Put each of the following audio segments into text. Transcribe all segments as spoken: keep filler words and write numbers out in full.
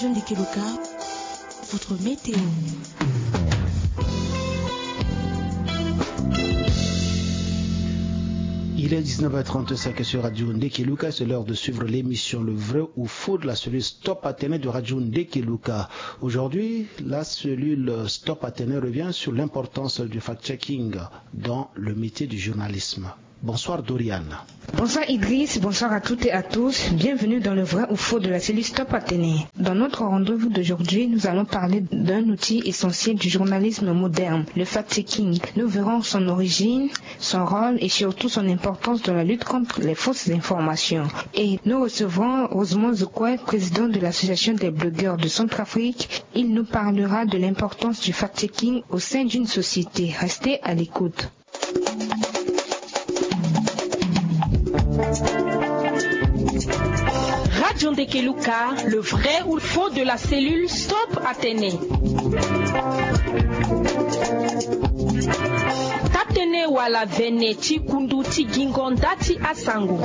Ndeke Luka, votre météo. Il est dix-neuf heures trente-cinq sur Radio Ndeke Luka. C'est l'heure de suivre l'émission Le vrai ou faux de la cellule Stop Athénée de Radio Ndeke Luka. Aujourd'hui, la cellule Stop Athénée revient sur l'importance du fact-checking dans le métier du journalisme. Bonsoir Dorian. Bonsoir Idriss, bonsoir à toutes et à tous. Bienvenue dans Le vrai ou faux de la cellule Stop Athénée. Dans notre rendez-vous d'aujourd'hui, nous allons parler d'un outil essentiel du journalisme moderne, le fact-checking. Nous verrons son origine, son rôle et surtout son importance dans la lutte contre les fausses informations. Et nous recevrons Rosemond Zoukoué, président de l'Association des blogueurs de Centrafrique. Il nous parlera de l'importance du fact-checking au sein d'une société. Restez à l'écoute. Radio Ndeke Luka, le vrai ou le faux de la cellule Stop Athénée. Tatene wala vene ti kundu ti gingo nda ti asango.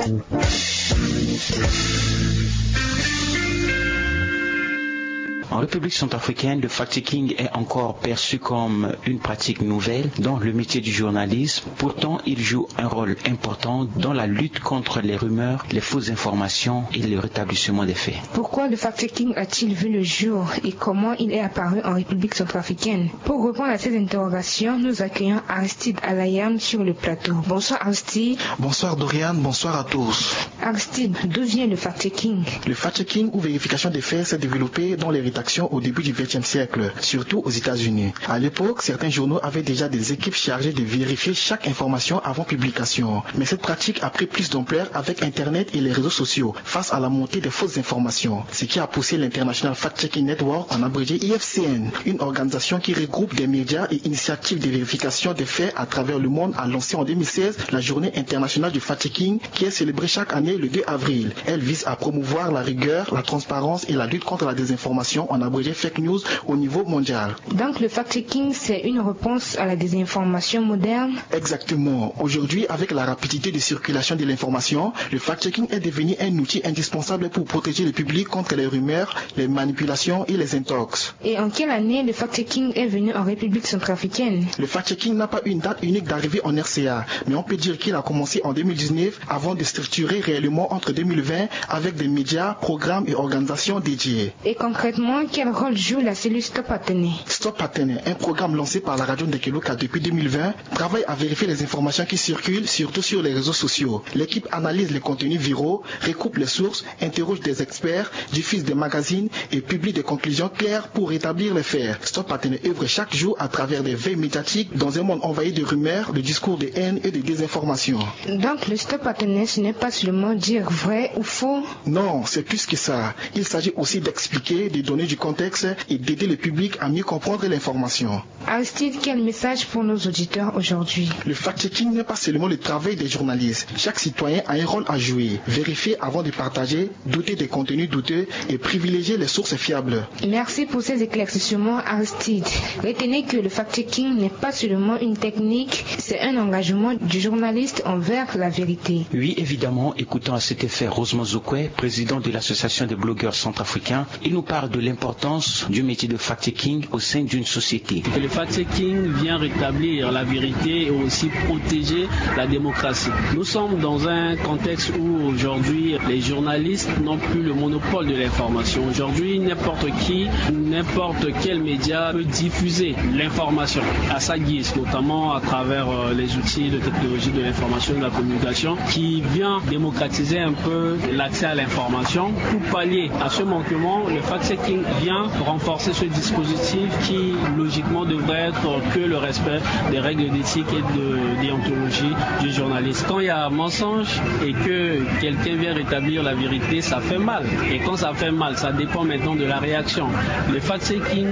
En République centrafricaine, le fact-checking est encore perçu comme une pratique nouvelle dans le métier du journalisme. Pourtant, il joue un rôle important dans la lutte contre les rumeurs, les fausses informations et le rétablissement des faits. Pourquoi le fact-checking a-t-il vu le jour et comment il est apparu en République centrafricaine ? Pour répondre à ces interrogations, nous accueillons Aristide Alayam sur le plateau. Bonsoir Aristide. Bonsoir Dorian, bonsoir à tous. Aristide, d'où vient le fact-checking ? Le fact-checking ou vérification des faits s'est développé dans les rédactions au début du vingtième siècle, surtout aux États-Unis. À l'époque, certains journaux avaient déjà des équipes chargées de vérifier chaque information avant publication. Mais cette pratique a pris plus d'ampleur avec Internet et les réseaux sociaux, face à la montée des fausses informations, ce qui a poussé l'International Fact-Checking Network, en abrégé I F C N, une organisation qui regroupe des médias et initiatives de vérification des faits à travers le monde, a lancé en deux mille seize la Journée internationale du fact-checking, qui est célébrée chaque année le deux avril. Elle vise à promouvoir la rigueur, la transparence et la lutte contre la désinformation, en abrégé fake news, au niveau mondial. Donc le fact-checking, c'est une réponse à la désinformation moderne ? Exactement. Aujourd'hui, avec la rapidité de circulation de l'information, le fact-checking est devenu un outil indispensable pour protéger le public contre les rumeurs, les manipulations et les intox. Et en quelle année le fact-checking est venu en République centrafricaine ? Le fact-checking n'a pas une date unique d'arrivée en R C A, mais on peut dire qu'il a commencé en deux mille dix-neuf avant de structurer réellement entre deux mille vingt avec des médias, programmes et organisations dédiées. Et concrètement, quel rôle joue la cellule Stop Athénée ? Stop Athénée, un programme lancé par la radio Ndeke Luka depuis deux mille vingt, travaille à vérifier les informations qui circulent, surtout sur les réseaux sociaux. L'équipe analyse les contenus viraux, recoupe les sources, interroge des experts, diffuse des magazines et publie des conclusions claires pour rétablir les faits. Stop Athénée œuvre chaque jour à travers des veilles médiatiques dans un monde envahi de rumeurs, de discours de haine et de désinformation. Donc le Stop Athénée, ce n'est pas seulement dire vrai ou faux ? Non, c'est plus que ça. Il s'agit aussi d'expliquer, de donner du contexte et d'aider le public à mieux comprendre l'information. Aristide, quel message pour nos auditeurs aujourd'hui ? Le fact-checking n'est pas seulement le travail des journalistes. Chaque citoyen a un rôle à jouer. Vérifier avant de partager, douter des contenus douteux et privilégier les sources fiables. Merci pour ces éclaircissements, Aristide. Retenez que le fact-checking n'est pas seulement une technique, c'est un engagement du journaliste envers la vérité. Oui, évidemment, écoutons à cet effet Rosemond Zoukoué, président de l'Association des blogueurs centrafricains. Il nous parle de l'importance du métier de fact-checking au sein d'une société. Et le fact-checking vient rétablir la vérité et aussi protéger la démocratie. Nous sommes dans un contexte où aujourd'hui les journalistes n'ont plus le monopole de l'information. Aujourd'hui, n'importe qui, n'importe quel média peut diffuser l'information à sa guise, notamment à travers, euh, les outils de technologie de l'information et de la communication qui vient démocratiser un peu l'accès à l'information. Pour pallier à ce manquement, le fact-checking vient renforcer ce dispositif qui, logiquement, devrait être que le respect des règles d'éthique et de déontologie du journaliste. Quand il y a mensonge et que quelqu'un vient rétablir la vérité, ça fait mal. Et quand ça fait mal, ça dépend maintenant de la réaction. Le fact-checking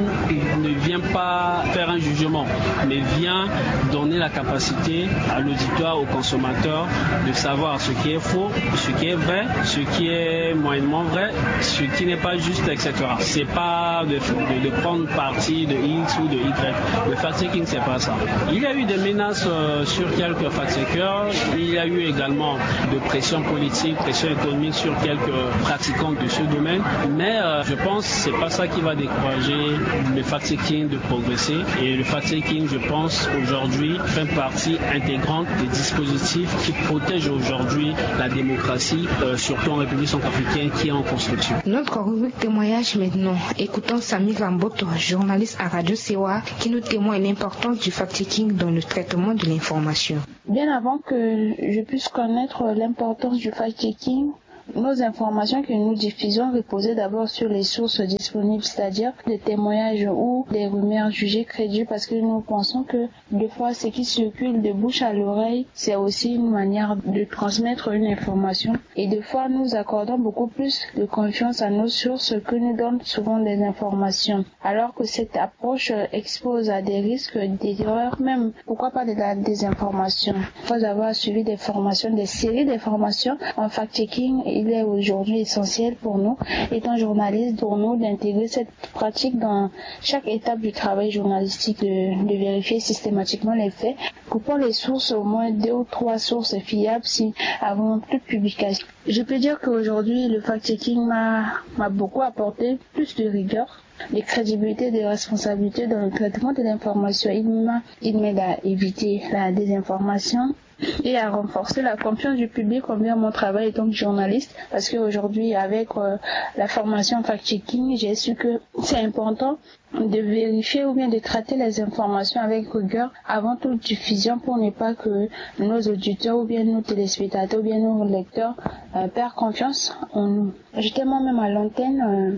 ne vient pas faire un jugement, mais vient donner la capacité à l'auditoire, au consommateur, de savoir ce qui est faux, ce qui est vrai, ce qui est moyennement vrai, ce qui n'est pas juste, et cetera. C'est Pas de, de, de prendre parti de X ou de Y. Le fact-checking, c'est pas ça. Il y a eu des menaces euh, sur quelques fact-checkers. Il y a eu également de pression politique, pression économique sur quelques pratiquants de ce domaine. Mais euh, je pense que c'est pas ça qui va décourager le fact-checking de progresser. Et le fact-checking, je pense, aujourd'hui, fait partie intégrante des dispositifs qui protègent aujourd'hui la démocratie, euh, surtout en République centrafricaine, qui est en construction. Notre rubrique témoignage maintenant. Écoutons Samy Ramboto, journaliste à Radio Sewa, qui nous témoigne l'importance du fact-checking dans le traitement de l'information. Bien avant que je puisse connaître l'importance du fact-checking, nos informations que nous diffusons reposaient d'abord sur les sources disponibles, c'est-à-dire des témoignages ou des rumeurs jugées crédibles, parce que nous pensons que des fois, ce qui circule de bouche à l'oreille, c'est aussi une manière de transmettre une information. Et des fois, nous accordons beaucoup plus de confiance à nos sources que nous donnent souvent des informations. Alors que cette approche expose à des risques d'erreur même. Pourquoi pas de la désinformation ? Après avoir suivi des formations, des séries de formations en fact-checking, il est aujourd'hui essentiel pour nous, étant journaliste, pour nous d'intégrer cette pratique dans chaque étape du travail journalistique, de, de vérifier systématiquement les faits, coupant les sources, au moins deux ou trois sources fiables si, avant toute publication. Je peux dire qu'aujourd'hui, le fact-checking m'a m'a beaucoup apporté plus de rigueur, de crédibilité, de responsabilité dans le traitement de l'information. Il m'a, il m'aide à éviter la désinformation et à renforcer la confiance du public envers mon travail en tant que journaliste. Parce qu'aujourd'hui, avec euh, la formation fact-checking, j'ai su que c'est important de vérifier ou bien de traiter les informations avec rigueur avant toute diffusion pour ne pas que nos auditeurs ou bien nos téléspectateurs ou bien nos lecteurs euh, perdent confiance en nous. J'étais moi-même à l'antenne, euh,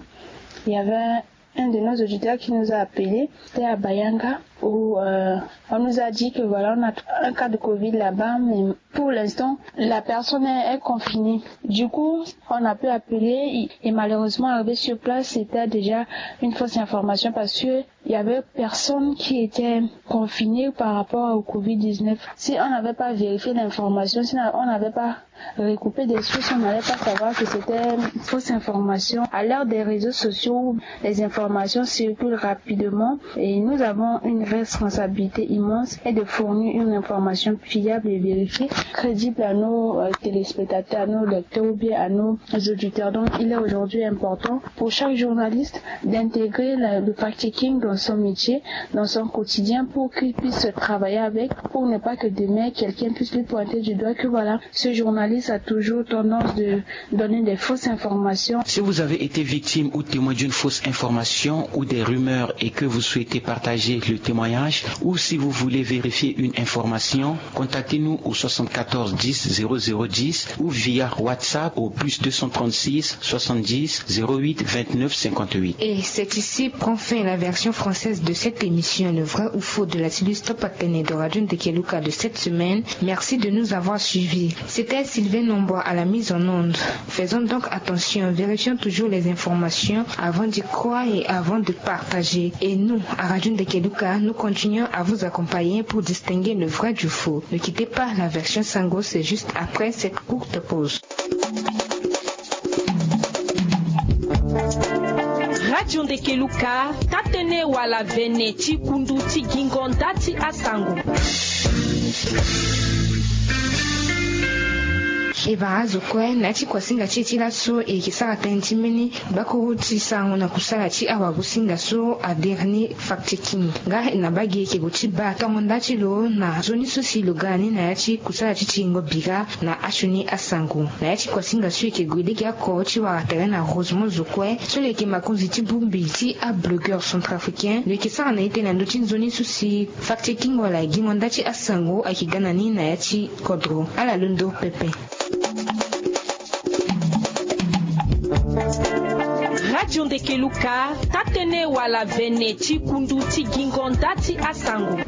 il y avait un de nos auditeurs qui nous a appelés, c'était à Bayanga, où euh, on nous a dit que voilà, on a un cas de covid là-bas, mais pour l'instant, la personne est, est confinée. Du coup, on a pu appeler et malheureusement, arrivé sur place, c'était déjà une fausse information parce que il y avait personne qui était confiné par rapport au covid dix-neuf. Si on n'avait pas vérifié l'information, si on n'avait pas recoupé des sources, on n'allait pas savoir que c'était une fausse information. À l'heure des réseaux sociaux où les informations circulent rapidement, et nous avons une responsabilité immense et de fournir une information fiable et vérifiée, crédible à nos euh, téléspectateurs, à nos lecteurs ou bien à nos auditeurs. Donc, il est aujourd'hui important pour chaque journaliste d'intégrer le fact-checking dans son métier, dans son quotidien, pour qu'il puisse travailler avec, pour ne pas que demain, quelqu'un puisse lui pointer du doigt que voilà, ce journaliste a toujours tendance de donner des fausses informations. Si vous avez été victime ou témoin d'une fausse information ou des rumeurs et que vous souhaitez partager le témoignage, ou si vous voulez vérifier une information, contactez-nous au soixante-quatorze dix zéro zéro dix ou via WhatsApp au plus deux cent trente-six soixante-dix zéro huit vingt-neuf cinquante-huit. Et c'est ici prend fin la version française de cette émission, Le vrai ou faux de la Silus Top Atene de Radio Ndekeluka de cette semaine. Merci de nous avoir suivis. C'était Sylvain Nombois à la mise en onde. Faisons donc attention, vérifions toujours les informations avant d'y croire et avant de partager. Et nous, à Radio Ndekeluka, nous continuons à vous accompagner pour distinguer le vrai du faux. Ne quittez pas la version Sango, c'est juste après cette courte pause. Radio Ndekeluka, tatene wala vene ti kundu ti gingo nda ti asango. E bara azo kue na ya ti kuasinga ti e ti laso e yeke sara tënë ti mbeni bakuru ti sarango na kusala ti awagosinga so adere ni fact-checking. Nga e na baa gi e yeke gue ti baa tongo nda ti lo na nzoni so si lo ga na ni na ya ti kusala ti tingo bira na asioni asango. Na ya ti kuasinga so e yeke gue lege oko ti wara tere na Rosemont zo kue so lo yeke makonzi ti bongbi ti ablogueur centrafricain, lo yeke sara na e tënë na ndö ti nzoni so si fact-checking wala gingo nda ti asango ayeke ga na ni na ya ti kodro. Ala londo pepe. Radio Ndekeluka, tatene wala vene ti kundu ti gingo nda ti asango.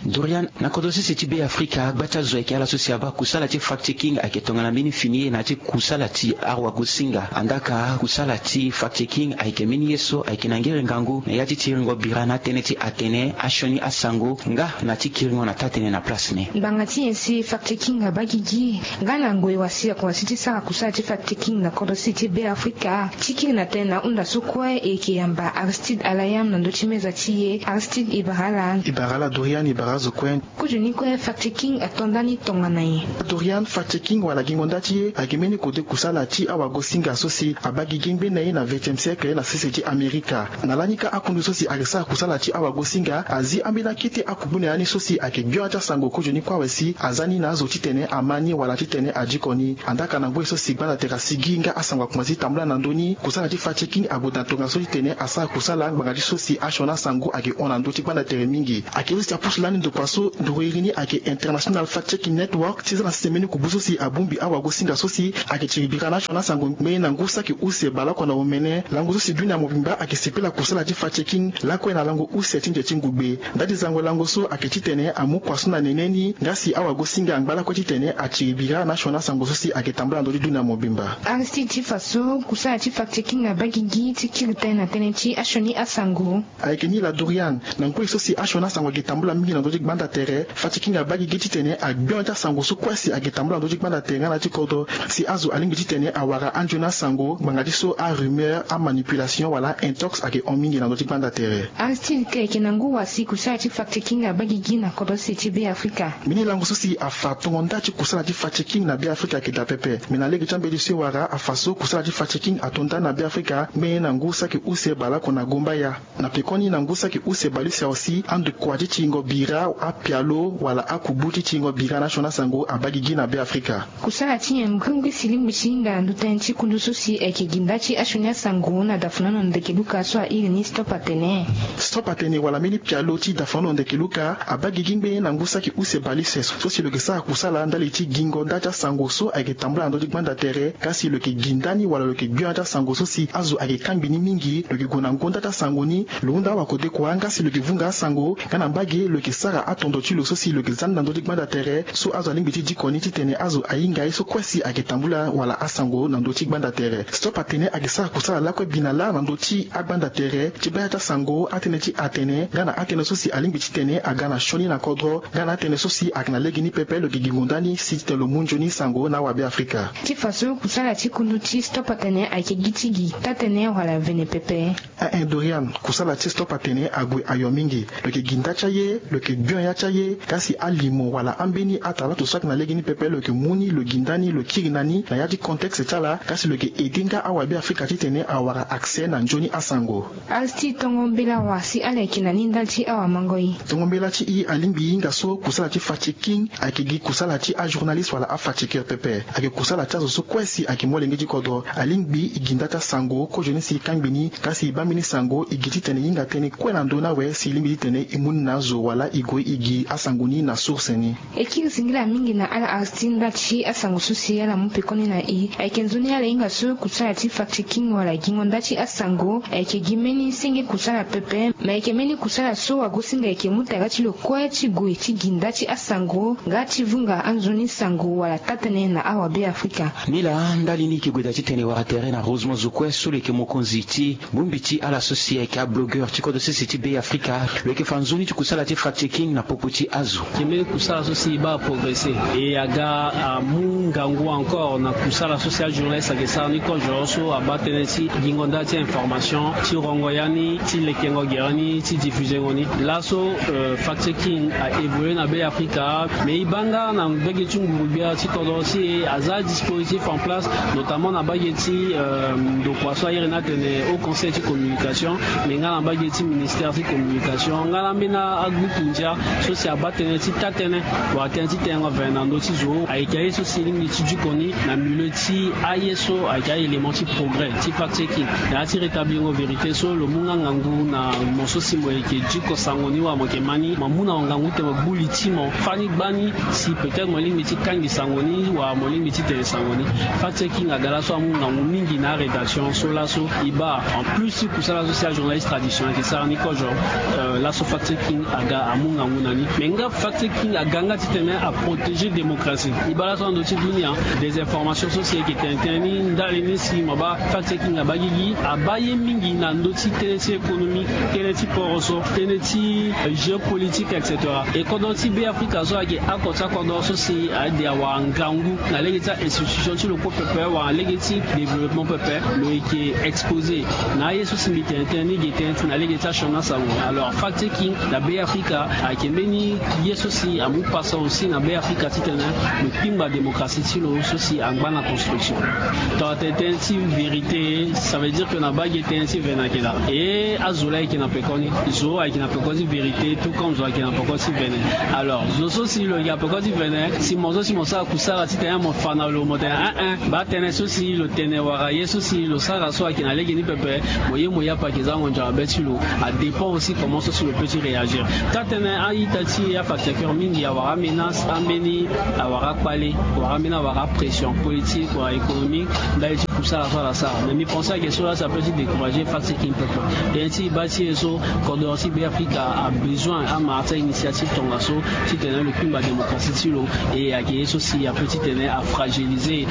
Dorian, na kodro sese ti Be Afrika, gba ti azo ayeke ala so si abaa kusala ti fact-checking ayeke tongana mbeni fini ye na ya ti kusala ti awagosinga. Andaa ka kusala ti fact-checking ayeke mbeni ye so ayeke na ngere ngangu na ya ti tiringo bira na atënë ti atene asioni asango nga na ti kiringo na taa-tënë na place ni. Ngbanga ti nyen si fact-checking abaa gigi? Nga na ngoi wasi akonda si ti sara kusala ti fact-checking na kodro sese ti Be Afrika ti kiri na tënë na hunda so kue e yeke yamba Aristide Alayam na ndö ti meza ti e. Aristide, e bara ala. E bara ala Dorian, e bara azo kue. Kozo ni kue fact-checking ato nda ni tongana nyen? Dorian, fact-checking wala gingo nda ti e ayeke mbeni kode kusala ti awagosinga so si abaa gigi ngbene ye na vingtième siècle na sese ti Amerika. Na lani kâ akundu so si ayeke sara kusala ti awagosinga azi ambeni akete akugbu na ya ni so si ayeke gbia ti asango kozo ni kue awe si aza ni na azo titene ama ni wala titene adiko ni. Andaa ka na ngoi so si gbanda tere asigi nga asango akomanse ti tambula na ndö ni, kusala ti fact-checking ague na tongaso titene asara kusala ngbanga ti so si asioni asango ayeke hon na ndö ti gbanda tere mingi. Ayeke ye so si apusu lani ndokua so nduru iri ni ayeke International Fact-Checking Network ti za na sese mbeni kubu so si abongbi awagosinga so si ayeke tiri bira na asioni asango ngbene na ngu saki use baleoko na omene. Lango so si dunia mobimba ayeke sepela kusala ti fact-checking lakue na lango use ti nze ti ngugbe. Ndali zango lango so ayeke titene amu kua so na nene ni nga si awagosinga angba lakue titene atiri bira na asioni asango so si ayeke tambula na ndö ti dunia mobimba. Aristide, ti fa so kusala ti fact-checking abaa gigi ti kiri tënë na tënë ti asioni asango? Ayeke ni laa Dorian, na ngoi so si asioni asango ayeke tambula mingi na ndö ti gbanda tere, fact-checking abaa gigi titene agbio ti asango so kue si ayeke tambula na ndö ti gbanda tere nga na ya ti kodro si azo alingbi titene awara anzoni asango ngbanga ti so arumeur, amanipulation wala intox ayeke hon mingi na ndö ti gbanda tere. Aristide, ka e yeke na ngu wa si kusala ti fact-checking abaa gigi na kodro sese ti Be Afrika? Mbeni lango so si afa tongo nda ti kusala ti fact-checking na Be Afrika ayeke daa pepe. Me na lege ti ambeti so e wara afa so kusala ti fact-checking ato nda na Be Afrika ngbene na ngu saki use baleoko na gombaya. Na pekoni na ngu saki use baleuse aussi, andokua ti tiringo bira, apialo wala akubu ti tiringo bira na asioni asango abaa gigi na Be Afrika. Kusala ti nyen ngringri si lingbi ti hinga na ndö tënë ti kundu so si ayeke gi nda ti asioni asango na dafunono ndeke luka so a iri ni Stop Atene? Stop Atene wala mbeni pialo ti dafunono ndeke luka abaa gigi ngbene na ngu saki use baleuse so si lo yeke sara kusala ndali ti gingo nda ti asango so ayeke tambula na ndö ti gbanda tere, ka si lo yeke gi nda ni wala lo yeke gbio na ya ti asango so si azo ayeke kangbi ni mingi, lo yeke gue na ngonda ti asango ni, lo hunda awakodekua nga si lo yeke vunga asango, nga na mbage lo yeke sara atondo ti lo so si lo yeke za ni na ndö ti gbanda tere, so azo alingbi ti diko ni titene azo ahinga ye so kue si ayeke tambula wala asango na ndö ti gbanda tere. Stop Atene ayeke sara kusala lakue bi na lâ na ndö ti agbanda tere ti baa ya ti asango, atënë ti atene, nga na atënë so si alingbi titene aga na sioni na kodro, nga na atënë so si ayeke na legeni pepe lo yeke gi ngonda ni si titene lo mu nzoni sango na awabe Afrika. Ti fa so kusala ti kundu ti Stop Atene ayeke gi ti gi taa-tënë wala vene pepe? Ae, Dorian, kusala ti Stop Atene ague ayo mingi. Lo yeke gi nda ti aye, lo yeke gbio ya ti aye, kasi alimo wala ambeni atalato so ayeke na legeni pepe lo yeke mu ni, lo gi nda ni, lo kiri na ni na ya ti contexte ti ala, kasi lo yeke aidé nga awabe Afrika titene awara accès na nzoni asango. Aristide, tongo mbela wa si ala yeke na ni ndali ti awamangoi? Tongo mbela ti e alingbi e hinga so kusala ti fact-checking ayeke gi kusala ti ajournaliste wala afact-checker pepe. Ayeke kusala ti azo so kue si ayeke molenge ti kodro. Alingbi e gi nda ti asango kozoni si e kangbi ni, kasi e baa mbeni sango e gi titene e hinga tënë kue na ndö ni awe si e lingbi titene e mu ni na azo wala e gue e gi asango ni na source ni. E kiri singila mingi na ala Aristide ndali ti asango so si ala mu pekoni na e. Ayeke nzoni ala hinga so kusala ti fact-checking wala gingo nda ti asango ayeke gi mbeni senge kusala pepe, me ayeke mbeni kusala so wagosinga ayeke mu tara ti lo kue ti gue ti gi nda ti asango nga ti vunga anzoni sango wala taa-tënë na awabe Afrika. Nilaa ndali ni e yeke gue daa titene e wara tere na Rosemond Zokoué so lo yeke mokonzi ti bongbi ti ala so si ayeke ablogueur ti kodro sese ti Be Afrika. Lo yeke fa nzoni ti kusala ti fact-checking na popo ti azo. Ayeke mbeni kusala so si e baa progresser. E aga amu ngangu encore na kusala so si ajournaliste ayeke sara ni kozo so abaa tënë ti gingo nda ti information, ti rongo ya ni, ti lekengo gere ni, ti diffusengo ni. Laso, euh, fact-checking a évolué na Be Afrika, mais e baa nga na mbage ti nguru-gbia ti kodro si e aza dispositif en place, notamment na mbage ti, euh, ndokua so a iri ni atene Haut Conseil ti communication, mais nga na mbage ti ministère ti communication, nga na ambeni agbuku ndia so si abaa tënë ti taa-tënë wala tënë ti tengo vene na ndö ti zo. Ayeke aye so si e lingbi ti diko ni na milieu ti aye so ayeke a-élément ti progrès ti fact-checking, na ya ti rétablirango vérité so lo mu nga ngangu na mo so si mo yeke diko sango ni wala mo yeke ma ni, mo amu na mo ngangu ti tene mo gbu li ti mo fani gbani si peut-être mo lingbi ti kangbi sango ni wala mo lingbi ti tene sango ni. Fact-checking aga laso amu ngangu mingi na arédaction so laso e baa. En plus ti kusala so si ajournaliste tradition ayeke sara ni kozo, euh, laso fact-checking aga amu na ngu na ni. Mais nga fact checking aga nga titene aprotéger démocratie. E baa laso na ndö ti dunia, désinformation so si e yeke tene tënë ni ndali ni si mo baa fact checking abaa gigi, abaa ye mingi na ndö ti tënë ti économie, tënë ti poro so, tënë ti géopolitique, et cetera. E kodro ti Be Afrika so ayeke oko ti akodro so si ade awara ngangu na lege ti a-institution ti lo kue pepe wala lege ti développement pepe. Lo yeke exposé na aye so si mbi tene tënë ni ge tënë ti na lege ti asioni asango. Alors fact checking na Be Afrika ayeke mbeni ye so si amu pasa aussi na Be Afrika titene lo kpingba démocratie ti lo so si angba na construction. Tongana tene tënë ti vérité, ça veut dire que na baa ge tënë ti vene ayeke daa. E azo laa ayeke na pekoni, zo ayeke na pekoni ti vérité tout comme zo ayeke na pekoni ti vene. Alors zo so si lo yeke na pekoni ti vene, si mo so si mo sara kusara titene mo fa na lo mo tene, ah, ah, baa tënë so si lo tene wala ye so si lo sara so ayeke na lege ni pepe, mo ye mo ye ape ayeke za ngonzo na be ti lo. Adépend aussi comment so si lo peut ti réagir. Taa tënë a-ita ti afact checker mingi awara amenace, ambeni awara akpale, wala ambeni awara apression politique wala économique ndali ti kusala so ala sara. Mais mbi pense ayeke so laa si apeut ti décourager fact checking pepe. Tënë ti e baa ti e so, kodro ti Be Afrika abesoin amara ti a-initiative tongaso titene lo kpingba démocratie ti lo. E ayeke ye so si apeut titene afragiliser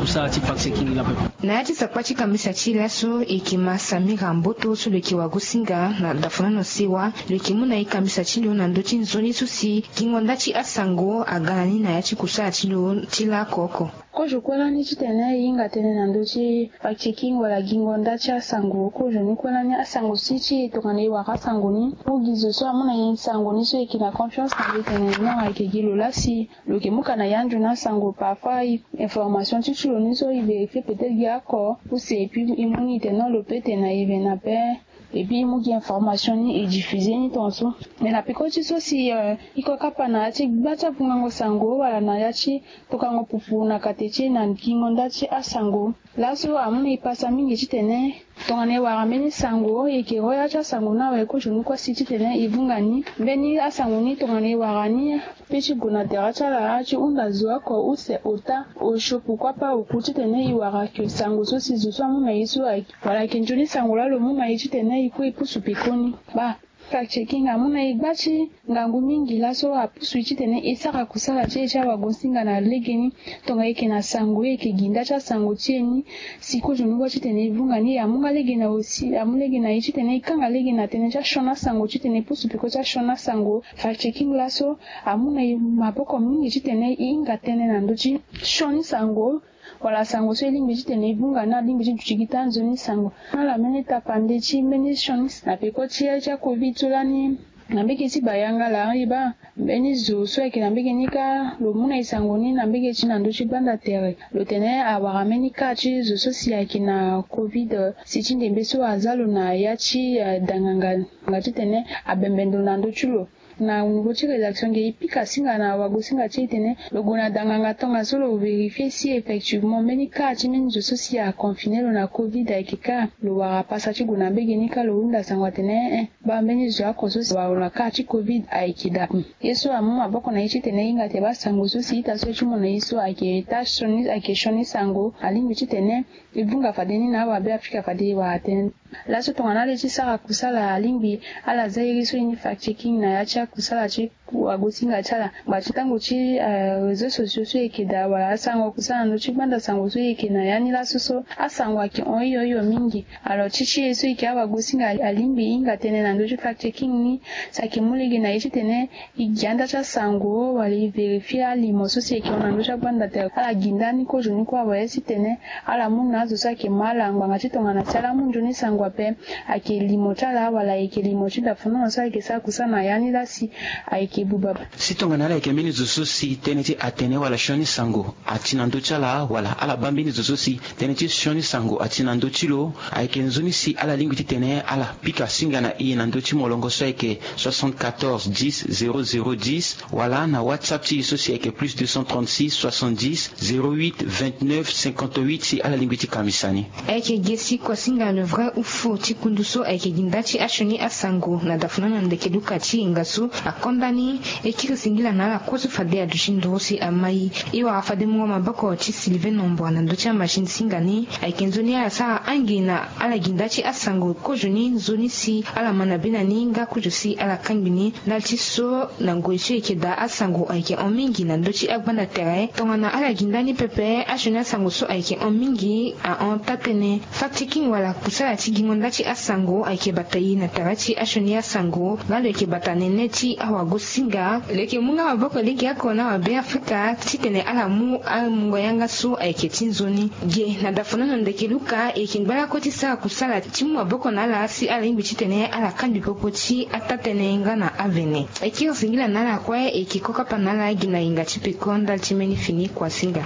kusala ti fact checking laa pepe. Na ya ti sakpa ti kambisa ti e laso e yeke ma Samira Mboto so lo yeke wagosinga na dafanono sewa. Lo yeke mu na e kambisa ti lo na ndö ti nzoni so si gingo nda ti asango aga na ni na ya ti kusala ti lo ti laoko oko. Kozo kue lani titene e hinga tënë na ndö ti fact checking wala gingo nda ti asango. Kozo ni kue lani asango si ti e tongana e wara asango ni, mu gi zo so amu na e sango ni so e yeke na confiance na lo tene non ayeke gi lo laa si lo yeke mu ka na ya nzoni asango. Parfois information ti ti lo ni so e vérifier peut-être gi oko use et puis e mu ni e tene non lo peut tene na e vene ape. Et puis e mu gi information ni e diffuser ni tongaso. Mais na peko ti so si e ko kapa na ya ti gba ti avungango sango wala na ya ti tokango pupu na kate ti e na gingo nda ti asango. Laso amu na e pasa mingi titene tongana e wara mbeni sango e yeke ro ya ti asango ni awe kozo ni kue si titene e vunga ni. Mbeni asango ni tongana e wara ni, pe ti gue na tere ti ala ti hunda zo oko use ota osio pourquoi pas oku titene e wara ke sango so si zo so amu na e so ayeke wala ayeke nzoni sango laa lo mu na e titene e kue e pusu pekoni. Baa fact checking amu na e gba ti ngangu mingi laso apusu e titene e sara kusala ti e ti awagosinga na legeni. Tongana e yeke na sango e yeke gi nda ti asango ti e ni. Si kozo ni kue titene e vunga ni e amu nga lege na osi amu lege na e titene e kanga lege na tënë ti asioni asango titene e pusu peko ti asioni asango. Fact checking laso amu na e maboko mingi titene e hinga tënë na ndö ti sioni sango wala sango so e lingbi titene e vunga ni alingbi ti duti gi taa nzoni sango. Ala mbeni tapande ti mbeni sioni na peko ti aye ti acovid so lani na mbege ti bayanga laa e baa mbeni zo so ayeke na mbege ni kâ lo mu na e sango ni na mbege ti na ndö ti gbanda tere lo tene awara mbeni cas ti zo so si ayeke na covid si ti ndembe so aza lo na ya ti danganga nga titene abembe ndo na ndö ti lo. Na niveau ti rédaction nge e pika singa na wagosinga ti e tene lo gue na danganga tongaso lo vérifier si effectivement mbeni cas ti mbeni zo so si aconfiner lo na covid ayeke kâ. Lo wara pasa ti gue na mbege ni kâ lo hunda sango atene eh eh baa mbeni zo oko so si awara lo na cas ti covid ayeke daa. Ye so amu maboko na e titene e hinga te baa sango so si ita so ti mu na e so ayeke taa sioni ayeke sioni sango alingbi titene e vunga fade ni na awabe afrika fade e wara tënë. Laso tongana ala ye ti sara kusala alingbi ala za iri so e ni fact checking na ya ti akusala ti wagosinga ti ala ngba ti tango ti réseau sociaux so e yeke daa wala asango kusala na ndö ti gbanda sango so e yeke na ya ni laso so asango ayeke hon hio hio mingi. Alors ti ti e so e yeke awagosinga alingbi e hinga tënë na ndö ti fact checking ni si ayeke mu lege na e titene e gi anda ti asango wala e vérifier alimo so si e yeke hon na ndö ti agbanda tere ala gi ndani kozo ni kue awe si tene ala mu na azo so ayeke ma ala ngbanga ti tongana si ala mu nzoni sango ape ayeke limo ti ala wala ayeke limo ti dafanono so ayeke sara kusana ya ni laa si ayeke buba. Si tongana ala yeke mbeni zo so si tënë ti atene wala sioni sango ati na ndö ti ala wala ala baa mbeni zo so si tënë ti sioni sango ati na ndö ti lo ayeke nzoni si ala lingbi titene ala pika singa na e na ndö ti molongo so ayeke soixante-quatorze dix zéro zéro dix wala na whatsapp ti e so si ayeke plus deux cent trente-six soixante-dix zéro huit vingt-neuf cinquante-huit si ala lingbi ti kambisa ni. Ayeke ge si kuasinga le vrai ou faux ti kundu so ayeke gi nda ti asioni asango na dafuna na ndeke luka ti e nga so akonda ni. E kiri singila na ala kue so fade aduti nduru si amai. E wara fade mungo maboko ti Sylvain Nombra na ndö ti amachine singa ni. Ayeke nzoni ala sara angi na ala gi nda ti asango kozo ni nzoni si ala ma na bena ni nga kozo si ala kangbi ni. Ndali ti so na ngoi so e yeke daa asango ayeke hon mingi na ndö ti agbanda tere. Tongana ala gi nda ni pepe asioni asango so ayeke hon mingi ahon taa-tënë. Fact-checking wala kusala ti gingo nda ti asango ayeke bata e na tara ti asioni asango nga lo yeke bata nene ti awagosinga. Lo yeke mu nga maboko legeoko na awabeafrika titene ala mu amungo yanga so ayeke ti nzoni. Ge na dafonono ndeke luka e yeke ngbalako ti sara kusala ti mu maboko na ala si ala lingbi titene ala kangbi popo ti ataa-tënë nga na avene. E kiri singila na ala kue e yeke kokapa na ala gi na yinga ti peko ndali ti mbeni fini kuasinga.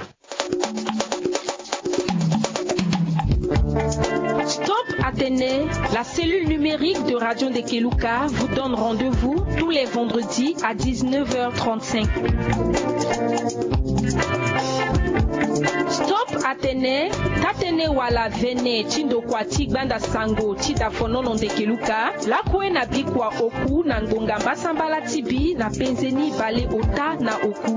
Stop Atene, la cellule numérique de Radio Ndekeluka vous donne rendez-vous tous les vendredis à dix-neuf heures trente-cinq. Stop Atene, tatene wala vene ti ndokua ti gbanda sango ti dafonono Ndekeluka, lakue na bikua oku na ngonga mbasambala ti bi na penzeni bale ota na oku.